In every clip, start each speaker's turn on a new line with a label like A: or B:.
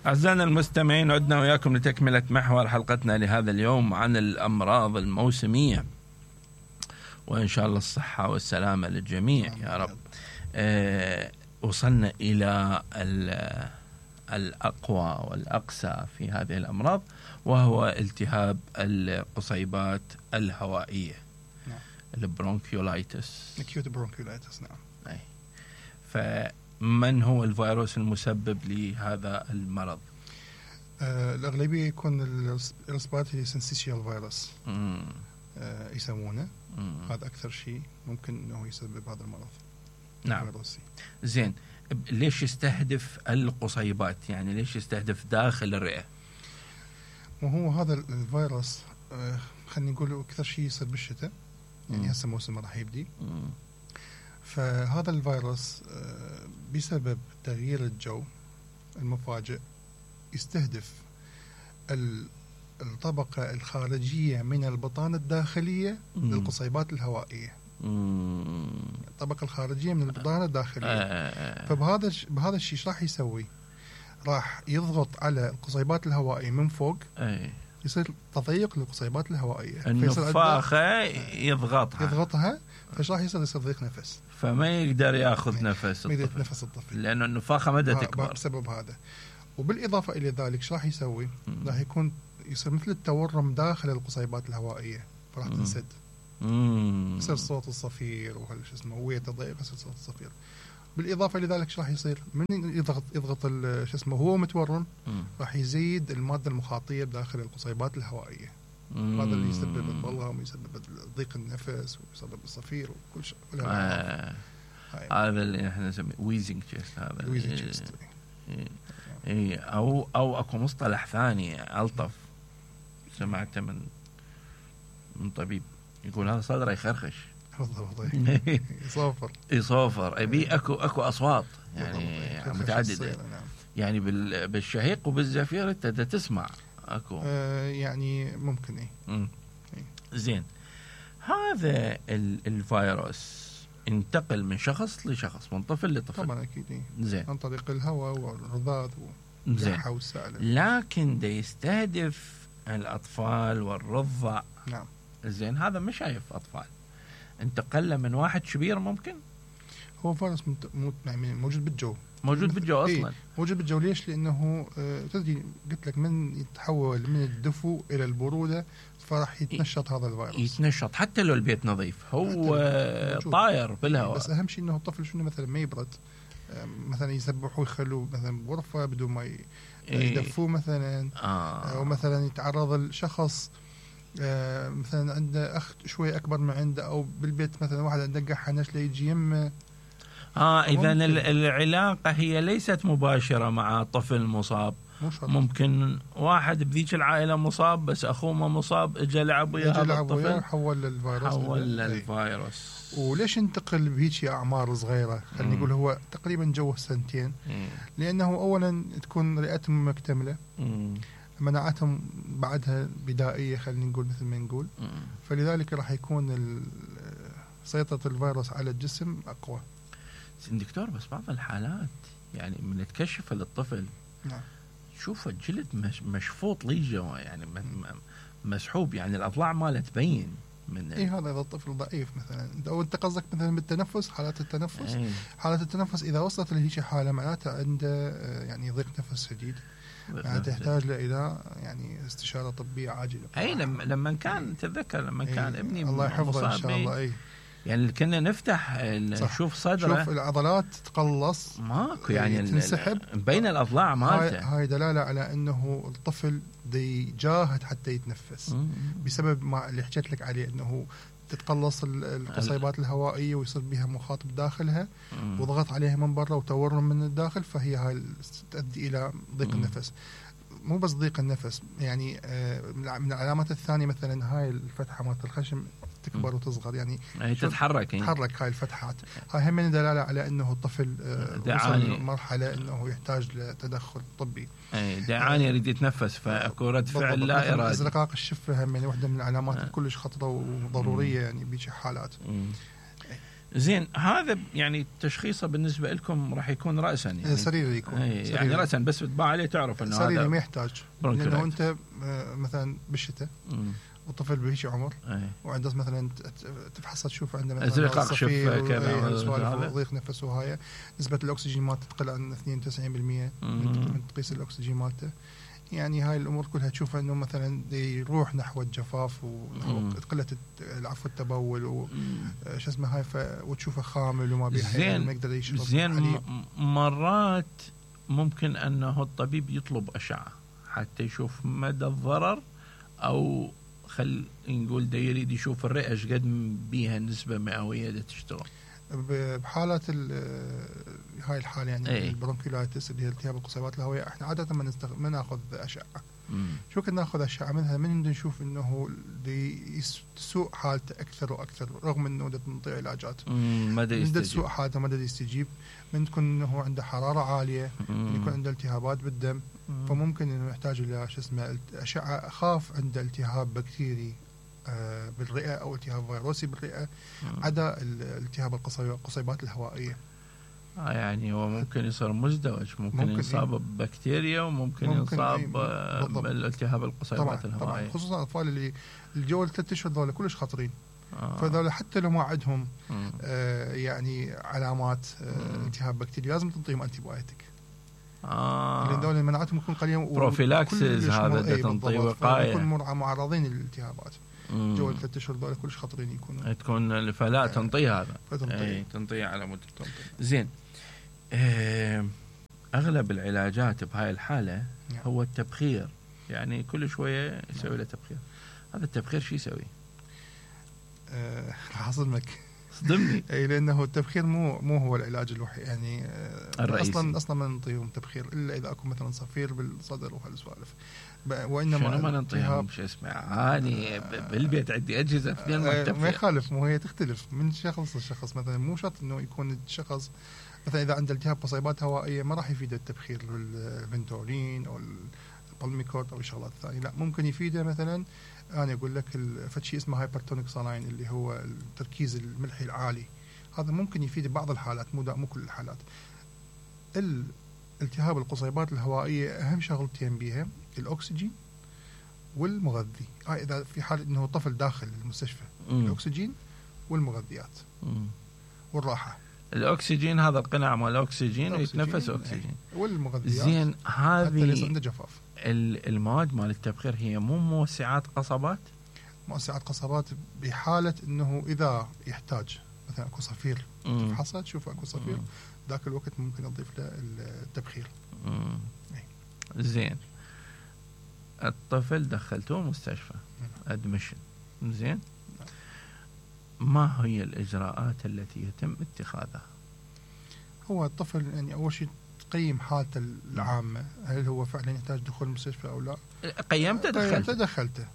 A: أعزائنا المستمعين، عدنا وياكم لتكملة محور حلقتنا لهذا اليوم عن الأمراض الموسمية، وإن شاء الله الصحة والسلامة للجميع يا رب. وصلنا إلى الأقوى والأقسى في هذه الأمراض، وهو التهاب القصيبات الهوائية، البرونكيولايتس.
B: acute bronchiolitis. نعم.
A: فمن هو الفيروس المسبب لهذا المرض؟
B: الأغلبية يكون الريسبيراتوري سينسيشيال فيروس يسمونه. هذا أكثر شيء ممكن أنه يسبب هذا المرض.
A: نعم. زين، ليش يستهدف القصيبات؟ يعني ليش يستهدف داخل الرئة؟
B: وهو هذا الفيروس خلينا نقول أكثر شيء يصير بالشتاء، يعني هسه موسم راح يبدي. فهذا الفيروس بسبب تغيير الجو المفاجئ يستهدف الطبقة الخارجية من البطانة الداخلية للقصيبات الهوائية. الطبقة الخارجية من البطانة الداخلية. فبهذا الشيء راح يسوي؟ راح يضغط على القصيبات الهوائية من فوق. يصير تضيق للقصيبات الهوائية،
A: النفاخة يضغطها،
B: فايش راح يصير ضيق نفس،
A: فما يقدر ياخذ نفس
B: الطفل
A: لأنه النفاخة ما تكبر
B: بسبب هذا. وبالإضافة إلى ذلك ايش راح يسوي؟ راح يصير مثل التورم داخل القصيبات الهوائية، فراح تنسد. يصير صوت الصفير وهالش اسمه، ويا تضيق يصير صوت الصفير. بالإضافة إلى ذلك ايش راح يصير؟ من يضغط شو اسمه هو متورم، راح يزيد المادة المخاطية بداخل القصيبات الهوائية. هذا اللي يسبب البلغم ويسبب ضيق النفس ويسبب الصفير وكل شيء.
A: هذا اللي احنا نسميه ويزنج تشيست. هذا
B: ويزنج تشيست.
A: او اكو مصطلح ثاني الطف سمعته من طبيب يقول هذا صدره يخرخش. يصوفر. ابي اكو اصوات يعني متعدده، يعني بالشهيق وبالزفير انت تسمع اكو
B: يعني ممكن.
A: زين، هذا الفيروس انتقل من شخص لشخص، من طفل لطفل
B: طبعا اكيد.
A: زين،
B: عن طريق الهواء والرذاذ والجرحى والسائل.
A: لكن ده يستهدف الاطفال والرضع.
B: نعم.
A: زين، هذا مش شايف اطفال، انتقل من واحد كبير ممكن.
B: هو فيروس موجود بالجو
A: اصلا.
B: موجود بالجو. ليش؟ لانه تدري قلت لك من يتحول من الدفو الى البروده فراح يتنشط هذا الفيروس.
A: يتنشط حتى لو البيت نظيف، هو طاير بالهواء.
B: بس اهم شيء انه الطفل شنو مثلا ما يبرد، مثلا يسبحوا ويخلوه مثلا بغرفه بدون ما يدفوه مثلا. او مثلا يتعرض الشخص مثلا عنده اخ شوي اكبر من عنده، او بالبيت مثلا واحد عنده قحة نشله يجي يمه.
A: اذا العلاقه هي ليست مباشره مع طفل مصاب. ممكن واحد بذيك العائله مصاب بس اخوه ما مصاب، اجى لعب ويا هذا الطفل
B: حول
A: للفيروس.
B: وليش انتقل بهيك اعمار صغيره؟ خلينا نقول هو تقريبا جوه سنتين. لانه اولا تكون رئتهم مكتمله، مناعتهم بعدها بدائيه خلينا نقول مثل ما نقول. فلذلك راح يكون سيطره الفيروس على الجسم اقوى.
A: دكتور، بس بعض الحالات يعني من تكشف للطفل شوف الجلد مشفوط ليجه، يعني مسحوب، يعني الاضلاع ماله تبين من
B: هذا اذا الطفل ضعيف مثلا. او انت قصدك مثلا بالتنفس، حالات التنفس. حالات التنفس اذا وصلت لهيك حاله معناتها عنده يعني ضيق نفس شديد، تحتاج الى يعني استشاره طبيه عاجله.
A: لما كان تتذكر لما كان ابني
B: الله يحفظه ان شاء الله.
A: يعني كنا نفتح نشوف صدره،
B: شوف العضلات تقلص
A: ماكو، يعني
B: تنسحب
A: بين الاضلاع مالته.
B: هاي دلاله على انه الطفل دي جاهد حتى يتنفس. بسبب ما اللي حكيت لك عليه، انه تتقلص القصيبات الهوائيه ويصير بها مخاطب داخلها وضغط عليها من برا وتورم من الداخل، فهي هاي تؤدي الى ضيق النفس. مو بس ضيق النفس، يعني من العلامات الثانيه مثلا هاي الفتحه مالت الخشم تكبر وتصغر، يعني
A: تتحرك
B: هاي الفتحات. هاي هم دلاله على انه الطفل وصل مرحله انه يحتاج لتدخل طبي.
A: دعاني يريد يتنفس، فاكو رد فعل لا ارادي.
B: ازرقاق الشفه هم واحده من العلامات كلش خطره وضروريه يعني بهيك حالات.
A: زين هذا يعني تشخيصه بالنسبه لكم راح يكون راسا يعني
B: سريري يكون
A: يعني راسا بس تطبع عليه تعرف انه
B: سريري
A: هذا
B: ما يحتاج، لانه انت مثلا بالشتاء والطفل بهيك عمر وعنده مثلا تفحصه تشوف عنده مثلا
A: ازرق شفه
B: كذا ضيق نفسه وهاي نسبه الاكسجين مالته تقل عن 92% من تقيس الاكسجين مالته. يعني هاي الامور كلها تشوف انه مثلا يروح نحو الجفاف وقله العفو التبول وش اسمه هاي وتشوفه خامل وما بيحل ما يقدر يشرب
A: زين مرات ممكن انه الطبيب يطلب اشعه حتى يشوف مدى الضرر، او خل نقول دا يريد يشوف الرئه ايش قد بيها نسبه مئويه دا تشتغل
B: بحالات هاي الحاله يعني البرونكيولايتس اللي هي التهاب القصيبات الهوائيه. احنا عاده ما ناخذ اشعه. شو كنا ناخذ اشعه منها من نشوف انه تسوء حالته اكثر واكثر رغم انه نعطي علاجات
A: ما
B: تسوء حالته ما يستجيب، من تكون انه عنده حراره عاليه، من يكون عنده التهابات بالدم، فممكن انه يحتاج الى شو اسمه اشعه. اخاف عنده التهاب بكتيري بالرئه او التهاب فيروسي بالرئه عدا التهاب القصيبات الهوائيه.
A: يعني هو ممكن يصير مزدوج، ممكن يصاب ببكتيريا وممكن يصاب بالالتهاب القصيبات الهوائيه.
B: طبعا خصوصا الاطفال اللي الجو 3 اشهر ذولا كلش خطرين. فذولا حتى لو ما عندهم يعني علامات التهاب بكتيري لازم تنطيهم انتي بايوتيك. لان ذولا مناعتهم تكون قليله
A: بروفيلاكسس هذا تنطي وقايه،
B: يكون معرضين للالتهابات. جو 3 اشهر ذولا كلش خطرين يكونوا
A: تكون فلا تنطي هذا تنطي على مده زين. أغلب العلاجات بهاي الحالة هو التبخير، يعني كل شوية يسوي له تبخير. هذا التبخير شو يسوي؟
B: راح أصدمك.
A: صدمني.
B: أي لأنه التبخير مو هو العلاج الوحيد يعني
A: الرئيسي.
B: أصلا ما ننطيهم تبخير إلا إذا أكو مثلا صفير بالصدر وهالسوالف.
A: وإنما شنو ما ننطيهم شو اسمه عاني بالبيت عندي أجهزة في
B: ما يخالف، مو هي تختلف من شخص لشخص. مثلا مو شرط إنه يكون الشخص مثلا إذا عنده التهاب قصيبات هوائية ما راح يفيده التبخير الفنتولين أو البالميكورت أو الشغلات الثانية. لا ممكن يفيده مثلا أنا أقول لك فشي اسمه هايبرتونيك سالاين اللي هو التركيز الملحي العالي. هذا ممكن يفيد بعض الحالات مو كل الحالات. التهاب القصيبات الهوائية أهم شغلتين بيها الأكسجين والمغذي. إذا في حال إنه طفل داخل المستشفى الأكسجين والمغذيات والراحة.
A: الأكسجين هذا القناع مال الأكسجين ويتنفس أكسجين
B: والمغذيات.
A: زين هذه
B: عنده جفاف.
A: المواد مال التبخير هي مو موسعات قصبات؟
B: موسعات قصبات بحالة إنه إذا يحتاج مثلا أكو صفير تفحصه تشوف أكو صفير ذاك الوقت ممكن نضيف له التبخير.
A: زين الطفل دخلته مستشفى أدمشن زين ما هي الإجراءات التي يتم اتخاذها؟
B: هو الطفل يعني أول شيء تقيم حالته العامة، هل هو فعلا يحتاج دخول المستشفى أو لا.
A: قيمته
B: دخلته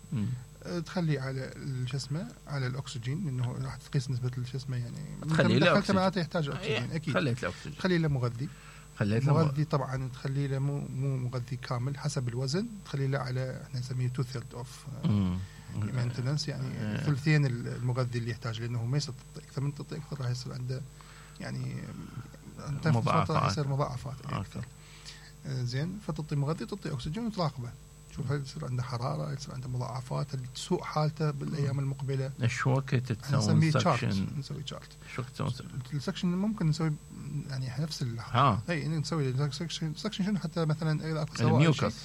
B: تخليه على الجسمة على الأكسجين لأنه راح تقيس نسبة الجسمة يعني
A: تخليه له أكسجين
B: معناته يحتاج أكسجين أكيد.
A: خليت له أكسجين.
B: تخليه له مغذي. مغذي طبعا تخليه له مو مغذي كامل حسب الوزن، تخليه له على احنا نسميه 2/3 اوف مينتنس يعني ثلثين المغذي اللي يحتاج، لانه ما يصير اكثر من تعطي اكثر راح يصير عنده يعني
A: مضاعفات.
B: يصير مضاعفات اكثر. زين فتعطي مغذي تعطي اكسجين وتراقبه شوف هل يصير عنده حراره، يصير عنده مضاعفات، تسوء حالته بالايام المقبله.
A: ايش وقت تسوي سكشن؟
B: نسوي شارت.
A: شو تسوي
B: السكشن ممكن نسوي يعني نفس اي نسوي السكشن شنو حتى مثلا اذا اكو
A: الميوكس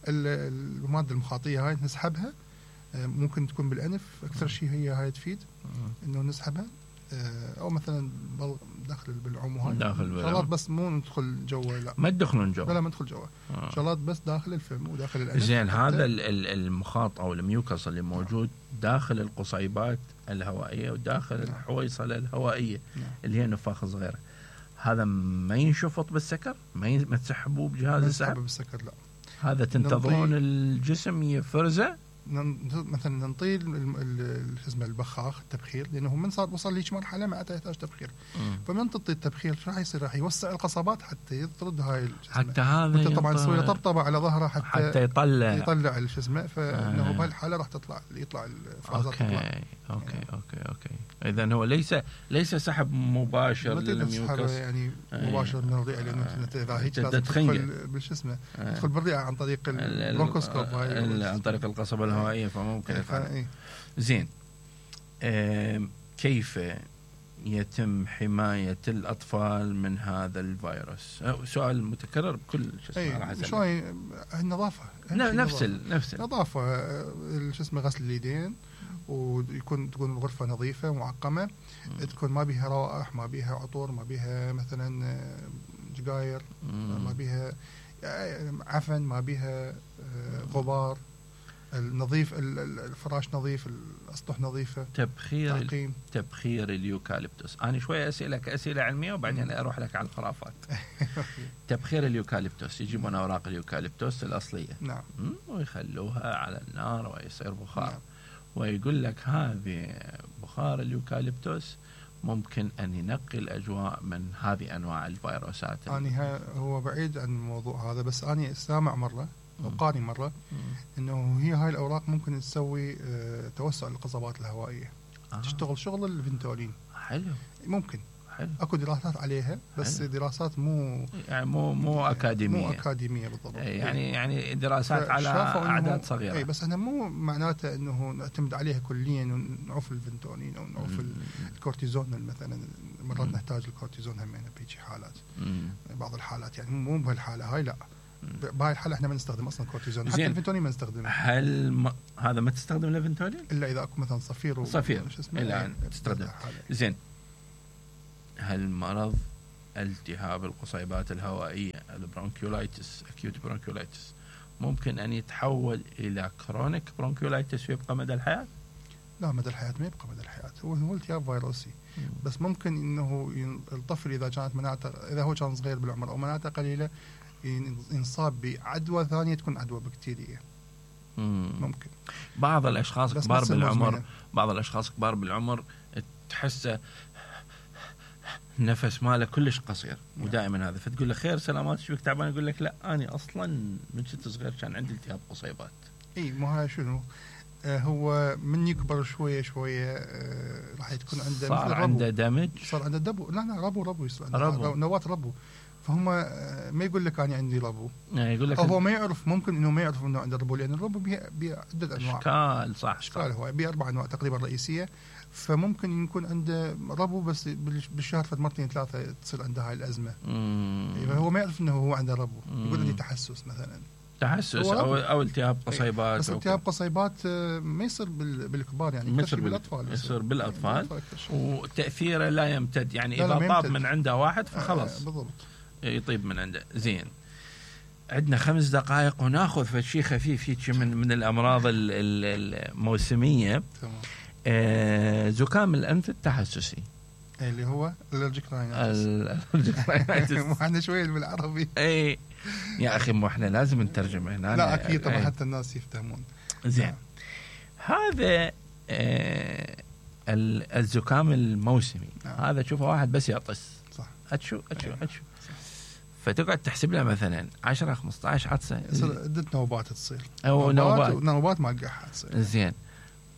B: الماده المخاطيه هاي نسحبها، ممكن تكون بالانف اكثر شيء هي هاي تفيد انه نسحبها، او مثلا داخل بالعوم هاي شغلات بس مو ندخل جوا. لا
A: ما تدخلون جوا.
B: لا ما ندخل جوا. شغلات بس داخل الفم وداخل الانف.
A: زين هذا المخاط او الميوكس اللي موجود داخل القصيبات الهوائيه وداخل الحويصله الهوائيه اللي هي نفاخ صغيره، هذا ما ينشفط بالسكر؟ ما تسحبوه بجهاز السحب
B: بالسكر؟ لا
A: هذا تنتظرون الجسم يفرزه
B: مثلا نطيل شو اسمه البخاخ التبخير، لانه من وصل ليش مرحله معناتها يحتاج تبخير. فمن تطي التبخير شو راح يصير؟ راح يوسع القصبات حتى يطرد هاي
A: حتى هذا
B: وانت طبعا تسوي طبطبه على ظهره حتى
A: يطلع
B: شو اسمه. فانه بهالحاله راح يطلع الافرازات.
A: اوكي. اذا هو ليس سحب مباشر للميوكس
B: يعني مباشر من الرئه، لانه اذا هيك لازم تدخل بالشو اسمه تدخل بالرئه عن طريق البرونكوسكوب
A: عن طريق القصبه الهوائيه، فممكن زين. كيف يتم حماية الأطفال من هذا الفيروس؟ سؤال متكرر بكل شو اسمه.
B: شوي النظافة،
A: نفس
B: النظافة، شو اسمه غسل اليدين، تكون الغرفة نظيفة معقمة، تكون ما بيها روائح، ما بيها عطور، ما بيها مثلا جقاير، ما بيها عفن، ما بيها غبار، النظيف، الفراش نظيف، الأسطح نظيفة،
A: تبخير اليوكاليبتوس. أنا شوية أسئلة علمية وبعدين أروح لك على الخرافات. تبخير اليوكاليبتوس، يجيبون أوراق اليوكاليبتوس الأصلية،
B: نعم،
A: ويخلوها على النار ويصير بخار، نعم. ويقول لك هذه بخار اليوكاليبتوس ممكن أن ينقي الأجواء من هذه أنواع الفيروسات.
B: هو بعيد عن الموضوع هذا، بس أنا سامع مرة وقاري مرة إنه هاي الأوراق ممكن تسوي توسع القصبات الهوائية، تشتغل شغل الفنتولين.
A: حلو،
B: ممكن. حلو. أكو دراسات عليها، بس حلو. دراسات مو أكاديمية بالضبط.
A: يعني دراسات على أعداد صغيرة.
B: بس أنا مو معناته إنه نعتمد عليها كليا ونعوف الفنتولين أو نعوف الكورتيزون مثلا. مرات نحتاج الكورتيزون همين بهيك حالات، بعض الحالات، يعني مو بهالحالة هاي لا. بهاي الحالة احنا ما نستخدم اصلا كورتيزون، حتى الفنتولين ما نستخدمه.
A: هل هذا ما تستخدم الفنتولين
B: الا اذا اكو مثلا صفير
A: الا تستخدم. زين، هل مرض التهاب القصيبات الهوائية البرونكيولايتس اكيوت برونكيولايتس ممكن ان يتحول الى كرونيك برونكيولايتس ويبقى مدى الحياة؟
B: لا، مدى الحياة ما يبقى مدى الحياة، هو التهاب فيروسي. بس ممكن انه الطفل اذا كانت مناعته، اذا هو كان صغير بالعمر او مناعته قليلة، ينصاب بعدوى ثانية تكون عدوى بكتيرية. ممكن.
A: بعض الأشخاص كبار بالعمر تحسه نفس ماله كلش قصير ودائما هذا، فتقول له خير سلامات شبك تعبان، يقول لك لا أنا أصلا من كنت صغير كان عندي التهاب قصيبات.
B: مو هاي شنو هو من يكبر شوية راح تكون عنده
A: صار عنده دمج،
B: صار عنده دبو، لا ربو يصير نواة ربو. فهم ما يقول لك أنا عندي ربو،
A: يقول لك
B: هو ما يعرف، ممكن إنه ما يعرف إنه عنده ربو، لأن الربو بعدة أنواع، أشكال هو بأربع أنواع تقريبا رئيسية. فممكن يكون عنده ربو، بس بالشهر مرتين ثلاثة تصير عنده هاي الأزمة. هو ما يعرف إنه هو عنده ربو، يقول عندي تحسس مثلا،
A: أو التهاب قصيبات.
B: بس التهاب قصيبات ما يصير بالكبار، يعني
A: يصير بالأطفال وتأثيره لا يمتد، يعني إذا طاب من عنده واحد فخلص
B: بالضبط
A: يطيب من عنده. زين، عندنا 5 دقائق وناخذ في شيء خفيف هيك من الأمراض الموسمية. زكام الأنف التحسسي
B: اللي هو الالرجيك راينايتس. احنا شويه بالعربي.
A: يا اخي مو احنا لازم نترجم هنا.
B: لا اكيد طبعا حتى الناس يفهمون.
A: زين، هذا الزكام الموسمي هذا تشوفه واحد بس يعطس،
B: صح،
A: اتشو فتقعد تحسب له مثلا 10 15 عطسه،
B: عدة نوبات تصير،
A: او
B: نوبات ما قاعد تصير.
A: زين،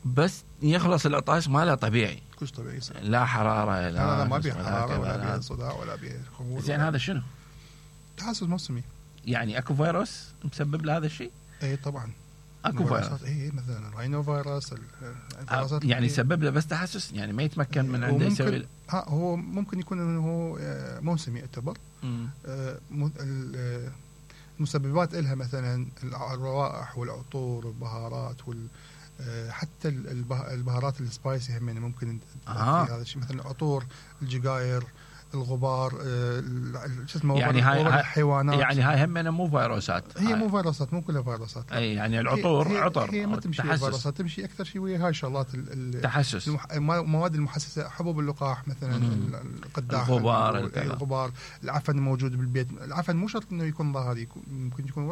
A: بس يخلص العطاش ماله طبيعي،
B: كلش طبيعي يصير.
A: لا حراره،
B: لا ما بيه حراره ولا بيه صداع ولا بيه خمول.
A: زين، هذا شنو؟
B: تحسس موسمي.
A: يعني اكو فيروس مسبب لهذا الشيء؟
B: طبعا
A: اكو فيروس،
B: مثلا الراينو فيروس،
A: يعني يسبب له بس تحسس، يعني ما يتمكن من عنده يسوي.
B: هو ممكن يكون انه هو موسمي يعتبر. المسببات إلها مثلا الروائح والعطور والبهارات حتى البهارات السبايسي هم ممكن هذا الشيء، مثلا العطور، الجقاير، الغبار، شو اسمه،
A: يعني
B: هاي الحيوانات.
A: يعني هاي هم مو فيروسات،
B: هي مو فيروسات، مو كلها فيروسات.
A: يعني العطور عطر،
B: هي ما تمشي فيروسات، تمشي اكثر شيء ويا هاي شغلات
A: التحسس،
B: المواد المحسسه، حبوب اللقاح مثلا، القداح،
A: الغبار،
B: العفن الموجود بالبيت. العفن مو شرط انه يكون ظاهري، ممكن يكون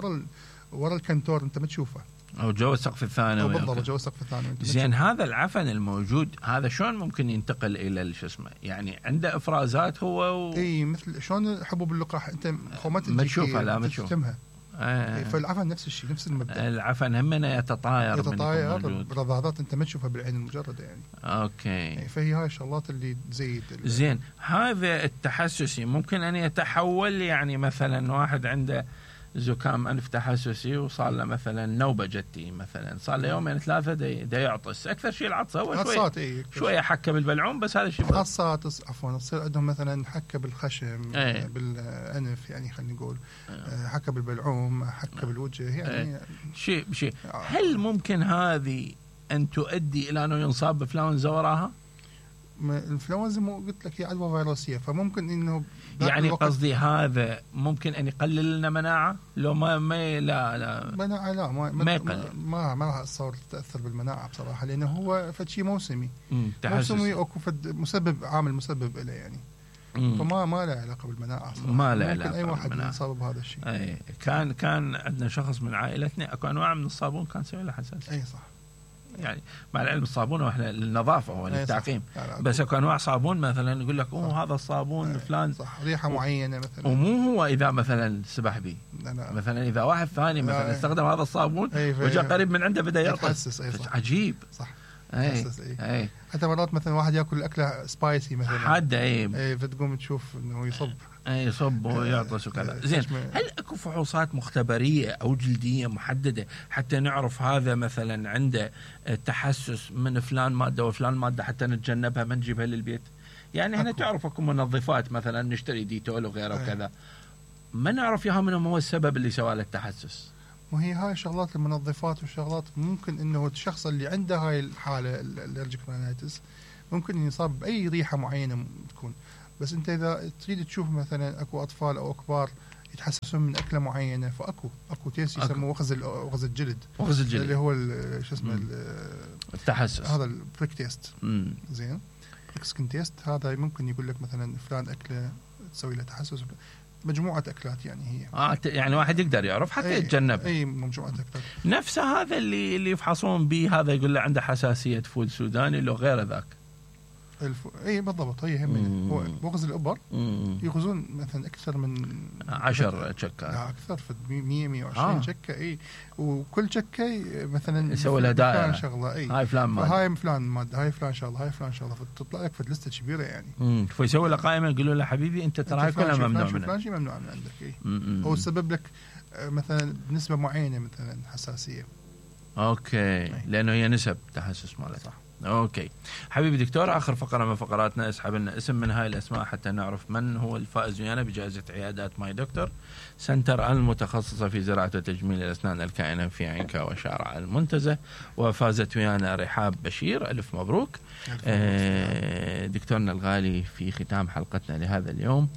B: ورا الكنتور انت ما تشوفه،
A: او جوا السقف الثانوي،
B: بالضبط جوا السقف الثانوي.
A: زين هذا العفن الموجود هذا شلون ممكن ينتقل الى شو اسمه، يعني عنده افرازات هو
B: اي مثل شلون حبوب اللقاح انت
A: ما تشوفها، لا ما
B: تشوفها. فالعفن نفس الشيء، نفس المبدا.
A: العفن همنا يتطاير
B: برذاذات انت ما تشوفها بالعين المجرده يعني.
A: اوكي.
B: فهي هاي الشغلات اللي تزيد.
A: زين هذا التحسسي ممكن ان يتحول، يعني مثلا واحد عنده زكام انف تحسسي وصار له مثلا نوبه جتي، مثلا صار له يومين ثلاثه دا يعطس، اكثر شيء العطس هو شويه حكه بالبلعوم، بس هذا الشيء
B: حصات عفوا تصير عندهم مثلا حكه بالخشم بالانف، يعني خلينا نقول حكه بالبلعوم، حكه بالوجه، يعني
A: شيء. هل ممكن هذه ان تؤدي الى انه ينصاب بانفلونزا وراها؟
B: الانفلونزا مو قلت لك هي عدوى فيروسيه، فممكن انه
A: يعني قصدي هذا ممكن ان يقلل لنا مناعه، لو ما لا
B: مناعه لا ما يقلل، ما راح تصور تاثر بالمناعه بصراحه، لانه هو فد شيء موسمي او فد عامل مسبب له يعني. فما له علاقه بالمناعه صراحه،
A: ما له
B: علاقه. اي واحد يصاب بهذا الشيء.
A: اي كان عندنا شخص من عائلتنا اكو انواع من الصابون كان سوي له حساسيه.
B: اي صح.
A: يعني مع العلم الصابون احنا للنظافه هو للتعقيم، بس اكو انواع صابون مثلا يقول لك هذا الصابون فلان
B: صح ريحه معينه مثلا،
A: ومو هو اذا مثلا سبح به، مثلا اذا واحد ثاني مثلا استخدم هذا الصابون وجاء قريب من عنده بدا يعطس. عجيب
B: صح.
A: اي
B: حتى مرات مثلا واحد ياكل اكله سبايسي مثلا
A: حاده
B: اي فتقوم تشوف انه
A: يصب ويعطس وكذا. زين هل اكو فحوصات مختبريه او جلديه محدده حتى نعرف هذا مثلا عنده تحسس من فلان ماده وفلان ماده حتى نتجنبها ما نجيبها للبيت؟ يعني احنا تعرف اكو منظفات مثلا نشتري ديتول وغيره وكذا، ما نعرف ياها منهم هو السبب اللي سوى له التحسس.
B: وهي هاي شغلات المنظفات والشغلات ممكن انه الشخص اللي عنده هاي الحاله الالرجيك رينايتس ممكن يصاب باي ريحه معينه تكون، بس انت اذا تريد تشوف مثلا اكو اطفال او كبار يتحسسون من اكله معينه، فاكو تيست يسموه وغز الجلد اللي هو شو اسمه
A: التحسس،
B: هذا البريك تيست. زين بريك سكن تيست هذا ممكن يقول لك مثلا فلان اكله تسوي له تحسس، مجموعه اكلات يعني هي
A: يعني واحد يقدر يعرف حتى يتجنب
B: اي مجموعه اكلات.
A: نفس هذا اللي يفحصون به، هذا يقول له عنده حساسيه فول سوداني لو غير ذاك.
B: اي بالضبط، هي هم هو بغز الابر يغزون مثلا اكثر من
A: 10 شكات،
B: اكثر في 100-120 شكه. اي وكل شكه مثلا
A: يسوي لها دائره
B: شغله، اي
A: هاي فلان ماده،
B: هاي فلان ماده، هاي فلان شغله، هاي فلان شغله، فتطلع لك في لسته كبيره يعني.
A: فيسوي له قائمه يقولوا له حبيبي انت ترى هاي كلها ممنوع منها،
B: فلان شيء ممنوع من عندك. اي هو سبب لك مثلا بنسبه معينه مثلا حساسيه.
A: اوكي لانه هي نسب تحسس ماله. صح. اوكي حبيبي دكتور، اخر فقره من فقراتنا اسحب لنا اسم من هاي الاسماء حتى نعرف من هو الفائز ويانا بجائزه عيادات ماي دكتور سنتر المتخصصه في زراعه وتجميل الاسنان الكائنه في عينكا وشارع المنتزه، وفازت ويانا رحاب بشير. الف مبروك. دكتورنا الغالي، في ختام حلقتنا لهذا اليوم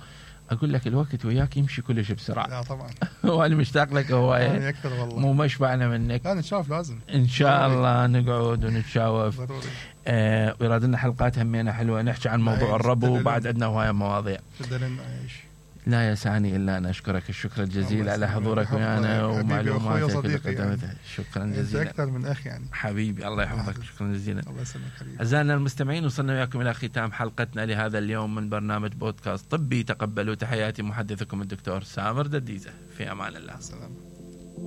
A: اقول لك الوقت وياك يمشي كل شيء بسرعه.
B: لا طبعا
A: وانا مشتاق لك هوايه
B: اكثر والله،
A: مو مشبعنا منك.
B: لا نتشاف لازم
A: ان شاء الله نقعد ونتشاوف
B: ضروري.
A: ويراد لنا حلقات همينه حلوه نحكي عن موضوع الربو، وبعد عندنا هوايه مواضيع. لا يسعني الا ان اشكرك الشكر الجزيل على حضورك ويانا ومعلوماتك اللي قدمتها. شكرا جزيلا
B: اكثر من اخي يعني
A: حبيبي، الله يحفظك. شكرا جزيلا.
B: الله يسلمك حبيبي.
A: اعزائنا المستمعين، وصلنا وياكم الى ختام حلقتنا لهذا اليوم من برنامج بودكاست طبي. تقبلوا تحياتي محدثكم الدكتور سامر دديزه. في امان الله.
B: السلام.